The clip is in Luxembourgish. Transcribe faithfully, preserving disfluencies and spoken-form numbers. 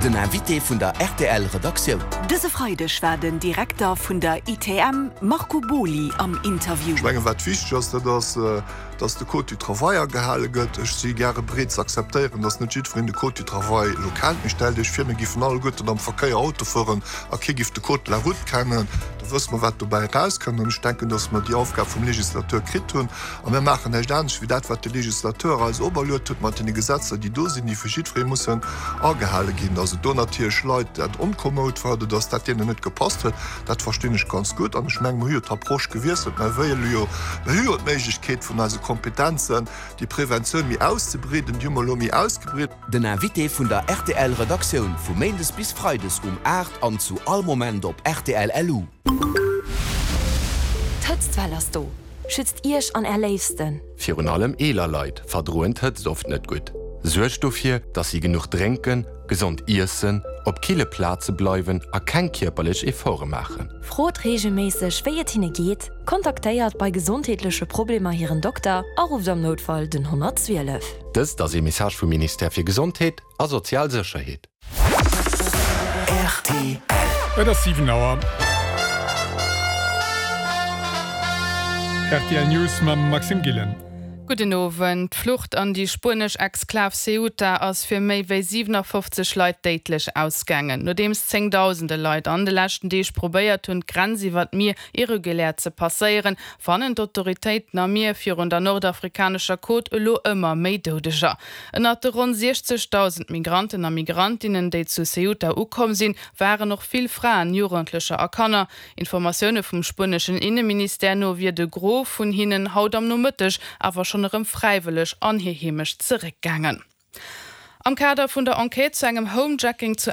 Den Invité vun der RTL Redaktioun. Dëse Freideg war den Direkter vun der I T M Marco Boly am Interview. Ech mengen, wat wichteg ass, dat ass, dass de Code du Travail agehale gëtt. Ech si gäre bereet ze akzeptéieren, dass net jiddwereen de Code du Travail elo kennt. Mee stellt Iech vir, mir géifen alleguerten am Verkéier Auto fueren a kee géif de Code de la Route kennen. Da wësse mer, wat dobäi erauskënnt. An ech denken, dass mer déi Aufgab vum Legislateur kritt hunn. A mir maachen näischt anescht wéi dat, wat de Legislateur eis operluecht huet mat deene Gesetzer, déi do sinn, déi vu jiddweree mussen agehale ginn. Dass et do natierlech Leit dat onkomoud war oder dass dat deenen net gepasst huet, dat verstinn ech ganz gutt. An ech mengen, mir hu jo d'Approche gewiesselt. Mir wëlle jo, mir hu jo d'Méiglechkeet vun eise Kompetenzen, déi Preventioun méi auszebreeden, déi hu mer elo méi ausgebreet. Den Invité vun der R T L Redaktioun vu Méindes bis Freides um aacht an zu all Moment op R T L L U. D'Hëtztwell ass do. Schützt Iech an är Léifsten. Virun allem eeler Leit verdroen d'Hëtzt oft net gutt. Suergt dofir, dass si genuch drénken, gesond iessen, op kille Plaze bleiwen a keng kierperlech Efforte maachen. Frot reegelméisseg, wéi et hinne geet, kontaktéiert bei gesondheetleche Problemer hiren Dokter a rufft am Noutfall den honnertzwielef. Dëst ass e Message vum Ministère fir Gesondheet a sozial Sécherheet. R T L. Et ass siwen Auer. R T L News mam Maxime Gillen. Gudden Owend. D'Flucht an déi spuenesch Exklav Ceuta ass fir méi wéi siwenafoffzeg Leit déidlech ausgaangen. Nodeems zéngdausende Leit an de leschten Deeg probéiert hunn, d'Grenz iwwer d'Mier irregulär ze passéieren, fannen d'Autoritéiten am Mier virun der nordafrikanescher Côte elo ëmmer méi Doudeger. Ënnert de ronn siechzegdausend Migranten a Migrantinnen, déi zu Ceuta ukomm sinn, waren och vill Fraen, Jugendlecher a Kanner. Informatioune vum spueneschen Inneministère no wier de Gros vun hinnen haut am Nomëtteg awer schonn erëm fräiwëlleg an hir Heemecht zeréckgaangen. Am Kader vun der Enquête zu engem Homejacking zu